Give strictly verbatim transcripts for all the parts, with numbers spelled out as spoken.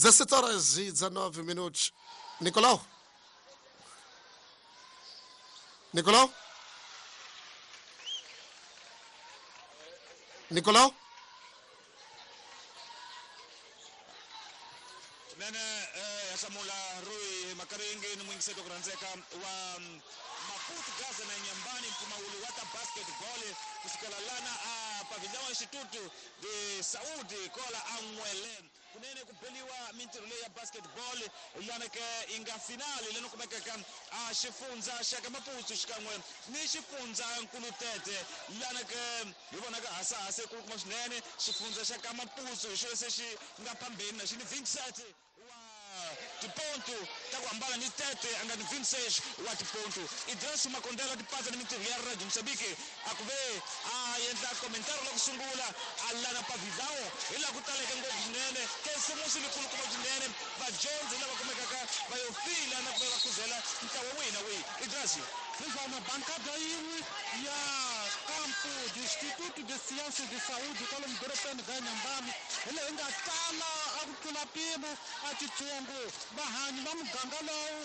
dezassete horas e dezanove minutos. Nicolau? Nicolau? Nicolau? Nene eh, hlamula Rui Makaringi ni mwingiseto ku rhandzeka wa Maputo Gaza na Nyambani mpfumawulo wa ta basketball kusukela lana a pavilhão Instituto de Saúde kola a N'wele kunene ku beliwa mintirho leyi ya basketball lana ke yi nga finali leni kumekaka a xifundza xa ka Maputo xikan'we ni xifundza Nkulutete lana ke hi vonaka hasahasa kulukumba swinene xifundza xa ka Maputo hi xo se xi nga phambeni na xi ni vintshete wa tiponto ta ku hambana ni tete a nga ni vintshete wa tiponto Idris Makondela tipatsa ni mintirho ya Radio Mozambique a ku ve a endla komentari la ku sungula a lana pavilhão hi laha ku taleke ngopfu swinene kesimusi likulukumba swinene vadyondzi lava kumekaka va yo fila na ku va va khuzela ntlawa wihi na wihi Idris. Hiswona bankada yin'we ya kampo de Instituto de Ciências de Saúde kwalomu dorobeni ra Nyambani hi leyi nga tala a ku tlula mpimo a titsongo vahanyi va muganga lowu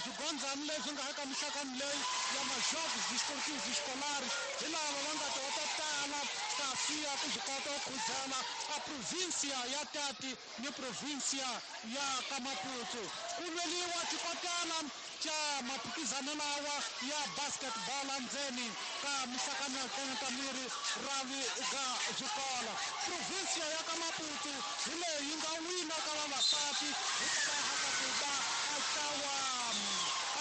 swigondzani leswi nga eka mixakani leyi ya majogos desportivos escolares hi lava va nga ta va ta tala kasi ya ku swi kota ku khuzela a província ya Tati ni província ya ka Maputo ku lweliwa xikotela xa maphikizano lawa ya basketball endzeni ka mixakano ya ta miri ravi ka swikolo província ya ka Maputo hi leyi yi nga wina ka vavasati hikwalaho ka ku va a ntlawa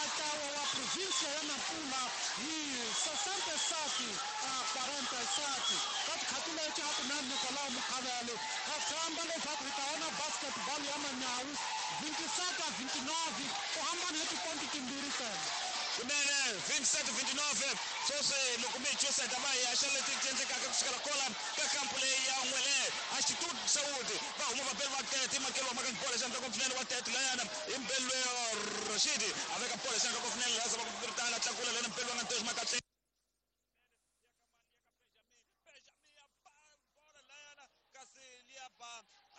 a ntlawa wa província ya Nampula hi sessenta e sete a quarenta e sete ka tikhathi leti a ku na Nicolau Mukhavele ha tshemba leswaku hi ta vona basketball ya manyawu vinte e sete a vinte e nove ku hambana hi tiponto timbirhi ntsena. Kunene vinte e sete vinte e nove sweswi loko mi hi twiseta va hi haxa leti ti endlekaka kusukela kola ka kampu leyi ya N'wele a Instituto de Saúde va huma vabeli va tete i makelo wa maka bola xandla ko swinene wa tete layana i mbelwe Rashidi a veka bola xandla ko swinene laha zama ku piritana tlakula lena mbelwe nga ntoxi makatle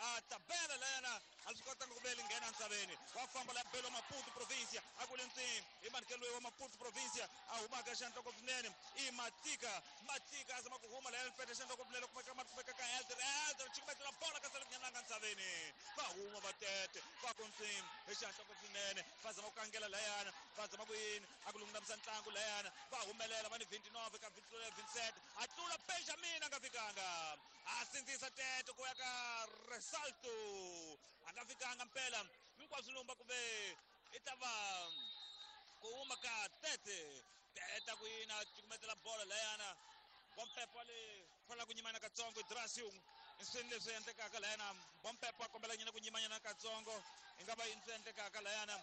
a tabela layana a swi kotanga ku vele nghena ntsaveni wa famba la belo Maputo província a ku le ntsini i manikelo wa Maputo província a humaka xandla ko swinene i Matika Matika a zama ku huma layana pete xandla ko swinene kumeka kumeka ka Elder Elder chikumetela bola ka sale nyananga ntsaveni va huma va tete va ku ntsini hi xandla ko swinene va zama ku kangela layana va zama ku yini a ku lungamisa ntlangu layana va humelela va ni vinte e nove ka vinte e sete a tlula Benjamin a nga fikanga a sindzisa tete ku ya ka Resalto a nga fikanga mpela hinkwaswo lumba ku ve i ta va ku huma ka tete tete ku yina cukumetela bola layana Bompepo le fanela ku nyimana katsongo Idrasiu i swini leswi endlekaka layana Bompepo a kombela nyina ku nyimanyana katsongo i nga va yini swi endlekaka layana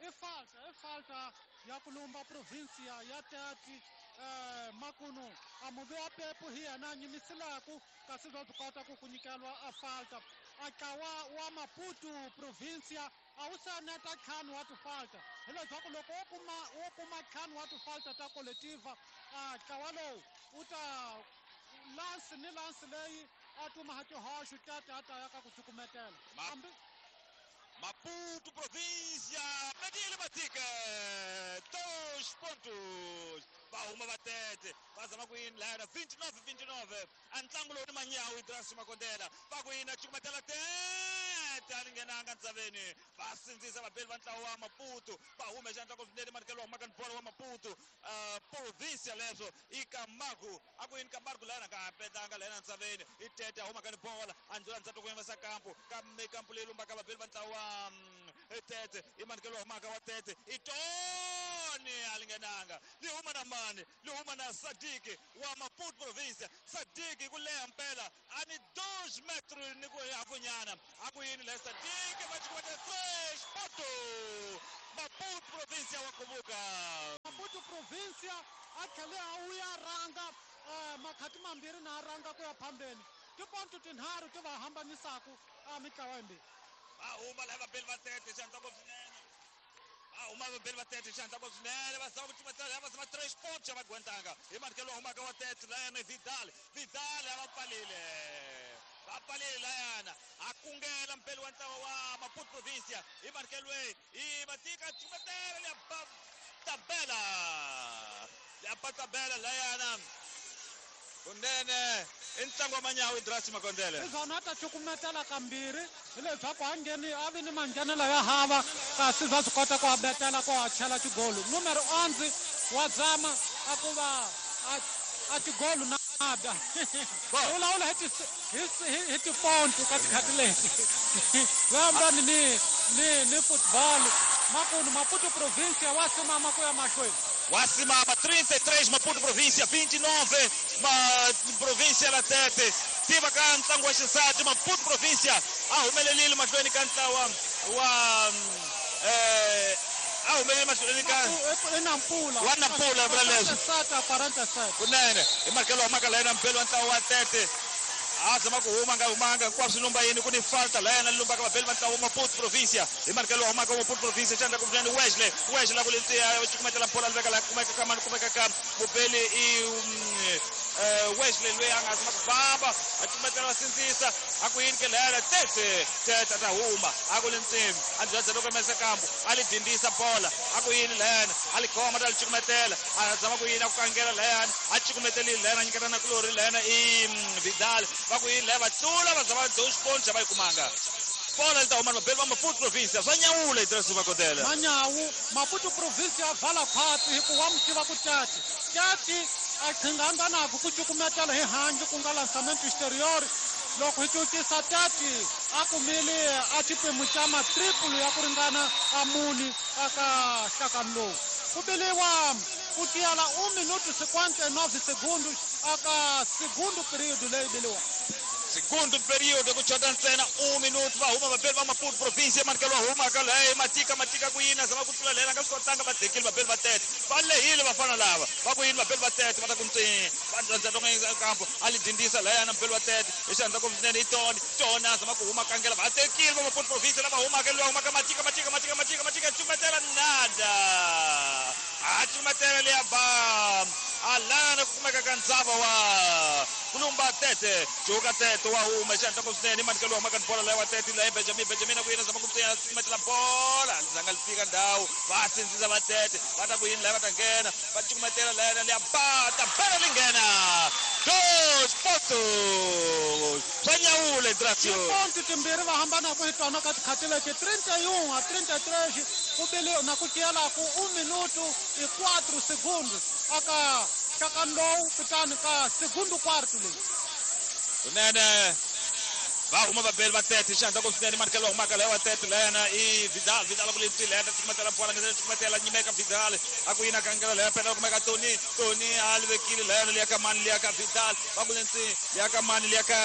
i falta i falta ya ku lumba província ya Tati eh, makunu a muvi wa pepu hi yena a nyimisilaku kasi bya byi kota ku ku nyikeliwa a falta a ntlawa wa Maputo província a wu se neta ntlhanu wa tifalta hileswaku loko wo kuma wo kuma ntlhanu wa tifalta ta koletiva a ntlawa lowu wu ta lansi ni lansi leyi a tuma tihoxo Tati a ta ya ka ku cukumetela hambi Maputo província Medile Matika dois pontos va huma va tete va zama ku yini layana vinte e nove vinte e nove a ntlangu lowu ni manyawu Idris Makondela va ku yini a cukumetela tete a ni nghenanga ntsaveni va sindzisa vabeli va ntlawa wa Maputo va hume xandla ko swinene manikelo wa humaka ni bola wa Maputo uh, província leswo i Camargo a ku yini Camargo layana nga ha petanga layana ntsaveni i tete a humaka ni bola a ndzula ndzhaku ku yimisa kampu kambe kampu leyi lumbaka vabeli va ntlawa wa tete i manikelo wa humaka wa tete i Tony a li nghenanga li huma na mani li huma na Sadiki wa Maputo província Sadiki ku leha mpela a ni dois metros ni ku hafunyana a ku yini le Sadiki va cukumeta três ponto Maputo província wa kuvuka Maputo província a tlhele a wuya rhanga eh, makhati mambirhi na a rhanga ku ya phambeni tiponto tinharhu ti va hambanisaku a mitlawa yimbirhi va huma lava vabeli va tete xandla ko swinene va huma vabeli va tete xandla ko swinene va zama ku cukumetela va zama três pontos a va gwentanga hi manikelo wa humaka wa tete layana Vidal Vidal a va pfalile va pfalile layana a kungela Cumetela mpeli wa ntlawa wa Maputo Provincia i markelwe i Matika cumetela le tabela le tabela layana kunene i ntlangu wa manyawu Idrasi Makondele izona ta cukumetela kambirhi hileswaku a ngheni a vi ni manghenelo ya hava kasi bya swi kota ku a betela ku a chela xigolu numero onze wa zama a ku va a xigolu nada vulavula hi hi tiponto ka tikhathi leti vambani ni ni ni football makunu Maputo Província wa simama ku ya mahlweni Wasimama trinta e três Maputo Província vinte e nove ma Província la Tete tiva ka ntlangu wa xisati Maputo Província a humelelile mahlweni ka ntlawa wa eh a humelele mahlweni ka Nampula wa Nampula vula leswi kunene hi markelo wa maka layena mpelo wa ntlawa wa Tete a zama ku huma nga humanga hinkwaswo lumba yini ku ni falta layena lumbaka vabeli va ntlawa wa Maputo Província hi markelo wa humaka wa Maputo Província xandla ku vunene Wesley Wesley ku lentsiya cukumetela bola li veka laha kumeka ka mani kumeka ka mubeli i Wesley loyi a nga zama ku famba a cukumetela va sindzisa a ku yini ke layena Tete Tete a ta huma a ku lentsimi a byadza loko mese kambu a li dindisa bola a ku yini layena a li khoma ta li cukumetela a zama ku yini a ku kangela layena a cukumetelile layena a nyiketa na kulori layena i Vidal va ku yini laya va tlula va zama dox poncha va yi kumanga bola li ta huma vabeli va Maputo Província swa nyawula Idrasi Makondele manyawu Maputo Província a vala khwatsi hikuva mi tiva ku Tati Tati a qhinganga naku ku cukumetela hi handle ku nga lançamento exterior loko hi cucisa Tati a kumile a xiphemu xa matriple ya ku ringana a muni aka nhlakani lowu ku biliwa ku tiyela un minuto cinquenta e nove segundos aka segundo período leyi biliwa segundo período ku chota ntsena un minuto va huma vabeli va Maputo Província manikelo wa huma ka leyi Matika Matika ku yini zama ku tlula lela nga swi kotanga va tekile vabeli va Tete va lehile vafana lava va ku yini vabeli va Tete va ta ku ntsi va ndza kampo a li dindisa layana mubeli wa Tete hi xandla ku swinene i Tony Tony a zama ku huma kangela va tekile va Maputo Província lava humaka loyi humaka Matika Matika Matika Matika Matika cukumetela nada a cukumetela leya ba alana ku kumeka ka ndzava wa kulumba Tete juka Tete wa huma xandla ku swinene manikelo wa humaka ni bola leyi wa Tete leyi Benjamin Benjamin ku yini zama ku ntsena cukumetela bola zanga li fika ndhawu va sindzisa va Tete va ta ku yini laya va ta nghena va cukumetela layena leya ba ta bela li nghena dos pontos swa nyawula Idrasio tiponto timbirhi va hambanaka hi tona ka tikhathi leti trinta e um a trinta e três ku bile na ku tiyelaku un minuto e quatro segundos aka nhlakani lowu kutani ka segundo quarto leyi kunene va huma vabeli va Tete xandla ku swinene manikelo wa humaka laya wa Tete layena i Vidal Vidal ku lentswi layena cukumetela bola ngena cukumetela nyimeka Vidal a ku yini a kangela laya pela kumeka Tony Tony a li vekile layena liya ka mani liya ka Vidal va ku lentswi liya ka mani liya ka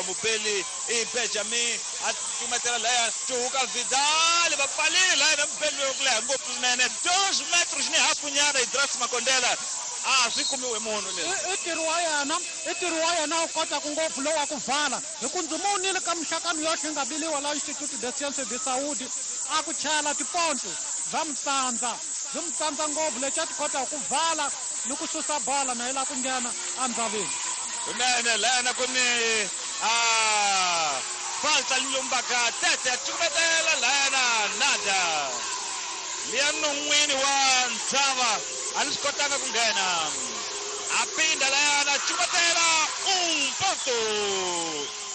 mubeli i Benjamin a cukumetela laya cuhuka Vidal va pfalile layena mubeli loyi ku leha ngopfu swinene dos metros ni hafu nyana Idrasi Makondela a swi kumiwe munhu leswi i ntirho wa yena i ntirho wa yena wu kotaka ngopfu lowu wa ku vala hi ku ndzi monile ka mixakano yoxe yi nga biliwa la Instituto de Sciences de Saúde a ku chela tiponto bya mutsandza byi mutsandza ngopfu lexi a ti kotaka ku vala ni ku susa bola na yi lava ku nghena endzaveni kunene layena ku ni a falta li lumbaka Tete a cukumetela layena nada liya non'wini wa ntshava a li swi kotanga ku nghena a pinda layana cukumetela un ponto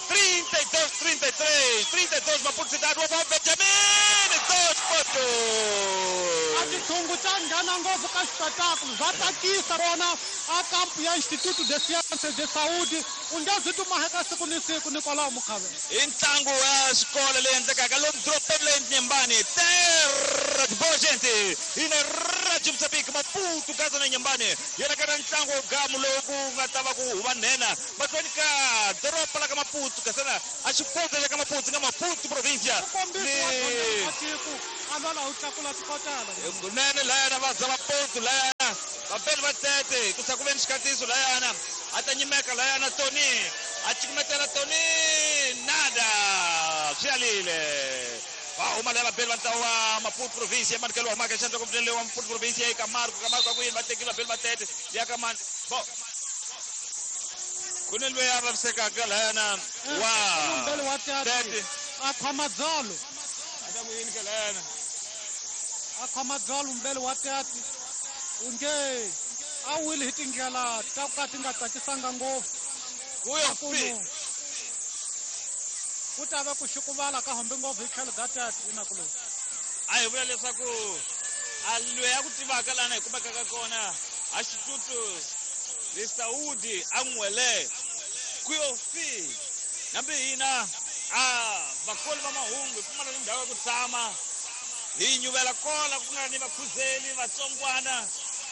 trinta e dois trinta e três trinta e dois Maputo Cidade wa Benjamin dois pontos a tithungu ta nghena ngopfu ka xipetakulo bya tsakisa rona a kampu ya Instituto de Sciences de Saúde u nge zi tumaheka siku ni siku Nicolau Mukhavela i ntlangu wa xikolo leyi endlekaka lomu dorobeni leyi Nyembani terra de boa gente ina Radio Moçambique Maputo Gaza na Nyembani yena ka ntlangu wa gamu lowu ku nga ta va ku huma nhenha mahlweni ka doroba la ka Maputo kasana a xifundza xa ka Maputo nga Maputo Província ni tiko a lwela u tlakula tikotela kunene layana va zama ponto layana vabeli va Tete ku sa ku ve ni xikatiso layana a ta nyimeka layana Tony a cukumetela Tony nada swi alile va huma laya vabeli va ntlawa wa Maputo Província manikelo wa humaka xandla ku wa Maputo Província eka Marco ka Marco a ku yini va tekile vabeli va Tete liya ka mani bo ku ni loyi a vavisekaka layana wa wa Tete A khoma dzolo. A ta ku yini ke lena? A khoma dzolo mbele wa tati. U nge a wile hi tindlela ta ku ka ti nga tsakisanga ngopfu. Kuyo fi. Ku ta va ku xukuvala ka hombe ngopfu hi tlhelo ga tati inakuloni. A hi vula leswaku a loyi a ku tivaka lana hi kumekaka kona a xitutu le Saudi a n'wele kuyo fi. Nambi hina a vakoli va mahungu hi pfumala ni ndhawu ya ku tshama hi nyuvela kola ku nga ni vakhuzeli vatsongwana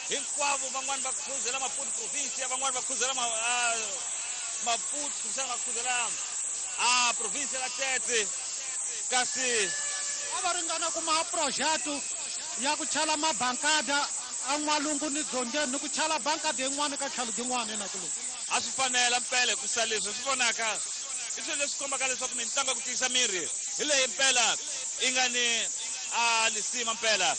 hinkwavo van'wani va khuzela Maputo province van'wani va khuzela Maputo kumbexana va khuzela a province la Tete kasi a va ringana kuma projeto ya ku chala mabankada a n'walungu ni dzongeni ni ku chala bankada yin'wana ka tlhelo yin'wana inakuloni. A swi fanela mpela ku sa leswi swi vonaka i swilo leswi kombaka leswaku mitlangu ya ku tiyisa miri hi leyi mpela yi nga ni a lisima mpela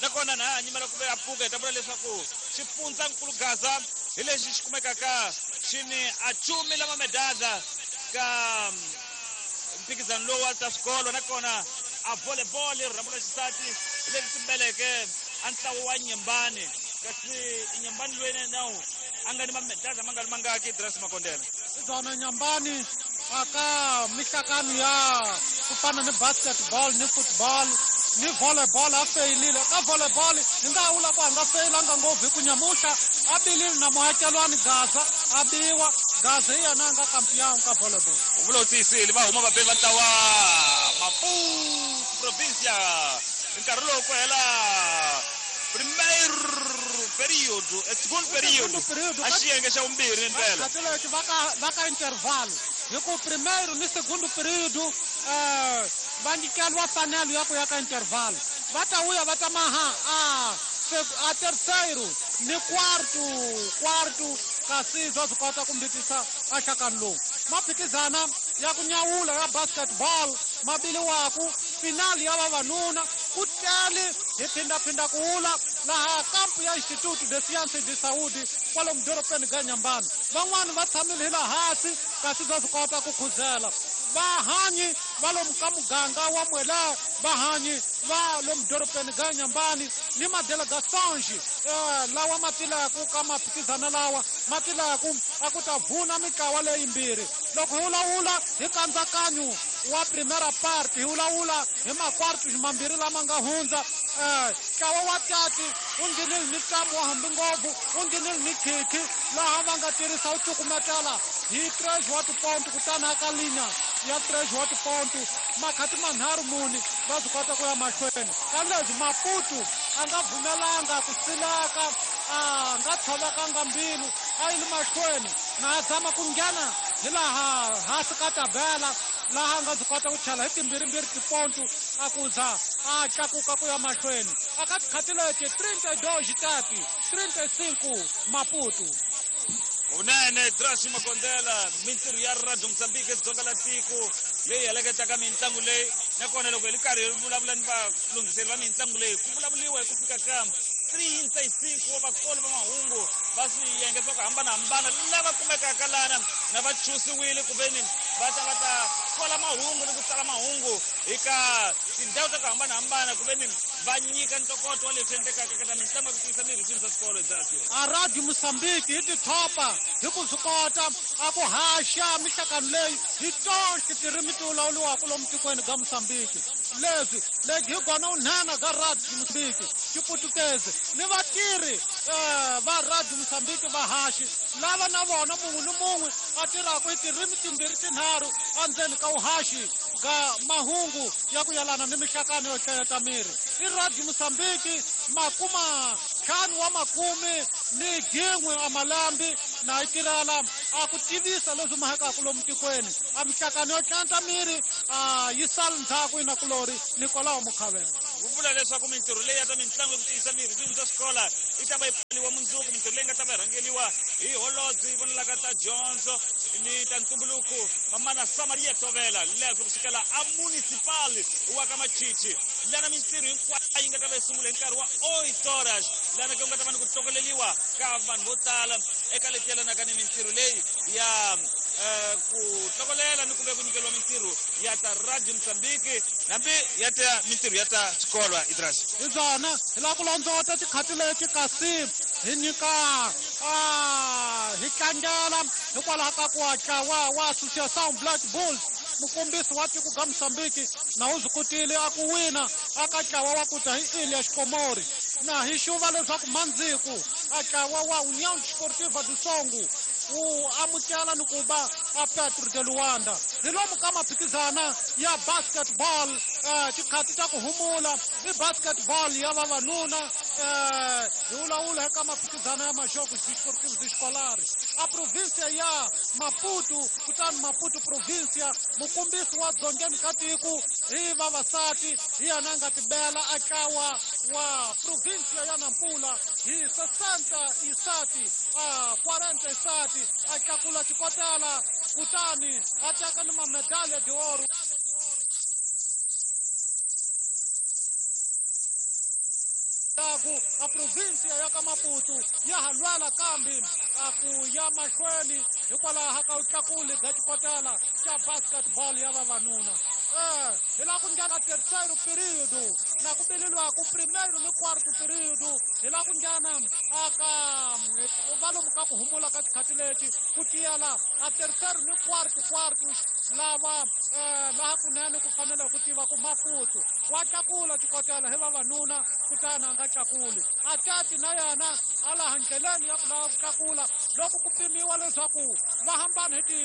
nakona na ha nyimela ku ve a pfuka hi ta vula leswaku xifundzankulu Gaza hi lexi xi kumekaka xi ni a chumi lama medada ka mphikizano lowu wa ta swikolo nakona a volleyball rhambu ra xisati hi leri timbeleke a ntlawa wa Nyembani kasi Nyembani loyi nawu a nga ni mamedada ma nga ri mangaki Dress Makondela. Byona Nyembani aka mihlakano ya ku fana ni basketball ni football ni volleyball a feyilile. Ka volleyball hi nga vula ku a nga feyilanga ngopfu hi ku nyamuhla a bilile na muakelwani Gaza a biwa Gaza hi yena a nga kampiyangu ka volleyball. U vula u tiyisile va huma vabeli va ntlawa Maputo provincia nkarhi lowu ku hela primeiro período, é segundo período, a xiyenge xa vumbirhi mpela. Khatileti va ka va ka intervalo hi ku primeiro ni segundo período eh va nyikeliwa fanelo ya ku ya ka intervalo va ta vuya va ta maha a a terceiro ni quarto quarto kasi bya swi kota ku mbitisa a nhlakano lowu. Maphikizana ya ku nyawula ya basketball ma biliwaku finali ya vavanuna ku tele hi phindaphinda ku wula laha kampu ya Instituto de Sciences de Saúde kwalomu dorobeni ga Nyambani. Van'wani va tshamile hi laha hansi kasi bya swi kota ku khuzela. Vahanyi va lomu ka muganga wa Mwela vahanyi va lomu dorobeni ga Nyambani ni madelegations eh, lawa ma tilaku ka maphikizana lawa ma tilaku a ku ta vuna mitlawa leyimbirhi. Loko hi vulavula hi nkatsakanyo wa primera parte hi vulavula hi makwartu mambirhi lama nga hundza eh, ntlawa wa tati wu nghenile ni ntamu wa hambi ngopfu wu nghenile ni khikhi laha va nga tirhisa wu cukumetela hi tres wa tiponto kutani aka linya ya tres wa tiponto makhati manharhu muni va swi kota ku ya mahlweni. Ka leswi Maputo a nga pfumelanga ku silaka a nga tshovekanga mbilu a yi le mahlweni na a zama ku nghena hi laha hansi ka tabela laha a nga byi kota ku chela hi timbirhimbirhi tiponto a ku za a tlakuka ku ya mahlweni. Aka tikhati leti trinta e dois tati trinta e cinco Maputo. Vunene Dress Makondela mintirho ya Radio Mozambique dzonga la tiko leyi heleketaka mitlangu leyi nakona loko hi ri karhi hi vulavula ni valunghiseri va mitlangu leyi ku vulavuriwa hi ku fika ka trinta e cinco wa vakoli va mahungu va swiyenge swa ku hambanahambana lava kumekaka lana na va chusiwile ku veni va ta va ta kola mahungu ni ku tsala mahungu eka tindhawu ta ku hambanahambana ku veni va nyika ntokoto wa leswi endlekaka eka ta mitlangu ya ku tiyisa miri swilo swa swikolo Dress. A Radio Mozambique hi tithopa hi ku swi kota a ku haxa mihlakano leyi hi tonke tirimi ti vulavuriwaka lomu tikweni ga Mozambique. Leswi legi hi kona unhena ga Radio Mozambique xiputukezi ni vatirhi eh, va Radio Mozambique vahaxi lava na vona mun'we ni mun'we a tirhaka hi tirimi timbirhi tinharhu endzeni ka vuhaxi ga mahungu ya ku yelana ni mihlakano yo hlayeta miri. I Radio Mozambique makuma ntlhanu wa makume ni gin'we a malambi na yi tirhela a ku tivisa leswi mahekaka lomu tikweni a mihlakano yo tlanta miri a yi sali ndzhaku inakulori Nikolao Mukhavela. Ku vula leswaku mintirho leyi ya ta mitlangu ya ku tiyisa miri swilo swa xikola yi ta va yi pfaliwa mundzuku mintirho leyi nga ta va yi rhangeriwa hi holobye yi vonelaka ta dyondzo ni ta ntumbuluko mamana Samaria Tovela leswi ku sukela a municipal wa ka Machichi lana mintirho hinkwayo yi nga ta va yi sungula hi nkarhi wa oito horas lana ku nga ta va ni ku hlokoleriwa ka vanhu vo tala eka leti yelanaka ni mintirho leyi ya ku tlokolela ni ku ve ku nyikeriwa mintirho ya ta Radio Mozambique hambi ya ta mintirho ya ta xikolwa Idras. Hi byona hi lava ku londzota tikhati leti kasi hi nyika a hi tlangela hikwalaho ka ku ntlawa wa Associação Black Bulls mukombisi wa tiko ga Mozambique na wu swi kotile a ku wina aka ntlawa wa ku ta hi Ilha Xikomori na hi xuva leswaku mandziku a ntlawa wa União Desportiva do Songo wu amukela ni ku va a Petro de Luanda. Hi lomu ka maphikizana ya basketball tikhati ta ku humula i basketball ya vavanuna hi vulavula eka maphikizana ya Jogos Desportivos Escolares a província ya Maputo kutani Maputo província mukombisi wa dzongeni ka tiko hi vavasati hi yena a nga tibela a ntlawa wa província ya Nampula hi sessenta e sete a quarenta e sete a tlakula xikotela kutani a teka ni mamedalha de ouro. A província ya ka Maputo ya ha lwela kambe a ku ya mahlweni hikwalaho ka vutlakuli bya xikotela xa basketball ya vavanuna. Eh, hi laha ku nghena terceiro período na ku bileliwaku primeiro ni quarto período hi laha ku nghena aka va lomu ka ku humula ka tikhati leti ku tiyela a terceiro ni quarto quartos lava laha kunene ku fanele ku tiva ku Maputo wa tlakula xikotela hi vavanuna kutani a nga tlakuli a tati na yena a laha ndleleni ya ku lava ku tlakula loko ku pimiwa leswaku va hambana hi ti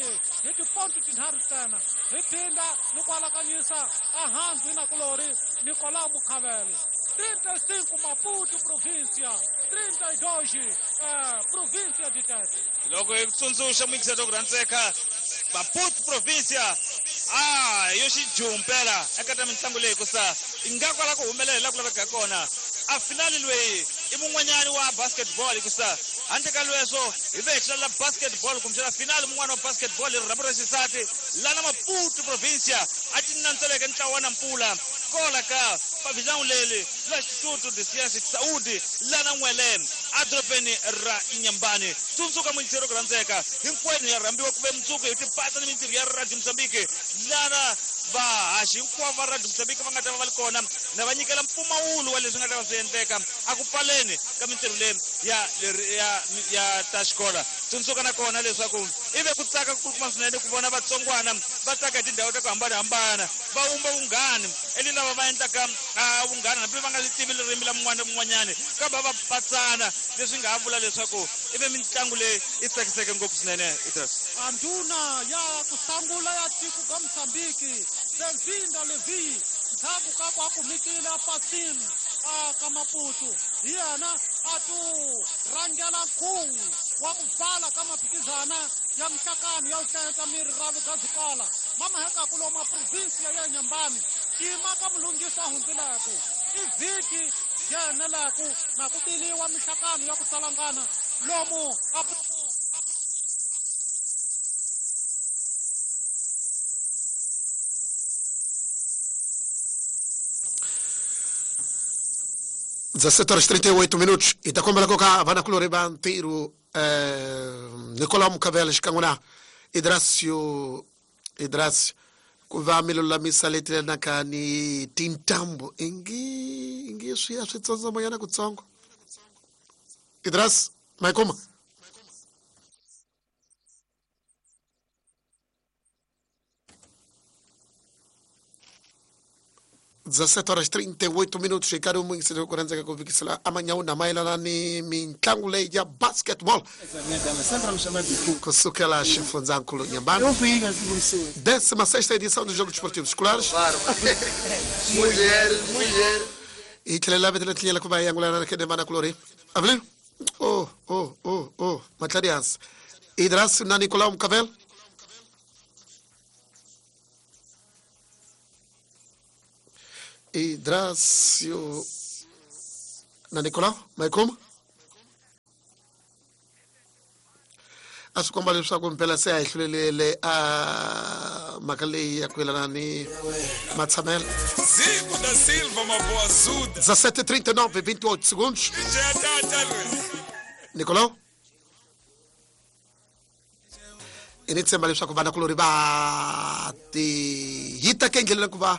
hi tiponti tinharhu ntsena hi phinda ni ku alakanyisa ehansi na kulori Nicolau Mukhavele. trinta e cinco Maputo província, trinta e dois eh, província de Tete. Loko hi tsundzuxa muyingiseri wa ku rhandzeka Maputo província a yo xijumpela eka ta mitlangu leyi kusa ingaku ala ku humelela laha ku lavekaka kona. A finali loyi i mun'wanyani wa basketball hikusa handle ka lweswo hi ve hi hlalela basketball kumbexana finali mun'wana wa basketball hi rirhambu ra xisati lana Maputo província a ti nantseleke ntlawa wa Nampula kola ka pavilhão leli la Instituto de Ciência de Saúde lana N'wele edorobeni ra Inhambane. Tsundzuka muyingiseri ku rhandzeka hinkwenu ya rhambiwa ku ve mundzuku hi tipatsa ni mintirho ya Radio Mozambique lana vahaxi hinkwavo va Radio Mozambique va nga ta va va ri kona na va nyikela mpfumawulo wa leswi nga ta va swi endleka a ku pfaleni ka mintirho leyi ya ya ya ta xikola. Tsundzuka na kona leswaku i ve ku tsaka kulukumba swinene ku vona vatsongwana va tsaka hi tindhawu ta ku hambanahambana va wumba vunghani eli lava va endlaka vunghana hambi va nga li tivi ririmi la mun'wana na mun'wanyani kambe va patsana leswi nga ha vula leswaku i ve mitlangu leyi i tsakiseke ngopfu swinene. Idris. A ndhuna ya ku sungula ya tiko ga Mozambique Benvinda Levi ndzhaku ka ku a kumekile a pasini a ka Maputo hi yena a tu rhangela nkhuvo wa ku pfala ka maphikizana ya mihlakano ya ku hlayisa miri ra ga swikola mamahekaku lomu provinsia ya Inhambane xiyima ka mulunghisi a hundzileku i vhiki yeneleku na ku biliwa mihlakano ya ku tsalangana lomu a dezassete horas trinta e oito minutos. E takombela koka vanakulori va ntirho eh, Nicolau Mukhavele xikan'we na Idracio Idracio ku va mi lulamisa leti lenaka ni tintambu ingi ingi swi ya swi tsondzomonyana kutsongo. Idras ma yi kuma? dezassete horas trinta e oito minutos. Ricardo Mungisele ku rhandzeka ku fikisela amanyawu na mayelana ni mitlangu leyi ya basketball kusukela xifundzankulu Inhambane, décima sexta edição dos Jogos Desportivos Escolares. E tlhela vetela tlinyela ku va hi angulana na kene vana kulori Avelino oh oh oh oh matladi hansi Idras na Nicolau Mukhavele. Idracio na Nicolau ma yi kuma a swi komba leswaku mpela se a hi hlulelele a mhaka leyi ya ku yelana ni matshamelo. Zico da Silva Maboazuda. dezassete e trinta e nove, vinte e oito segundos. Nicolau I ni tshemba leswaku vanakulori va ti hita ka endleleni ku va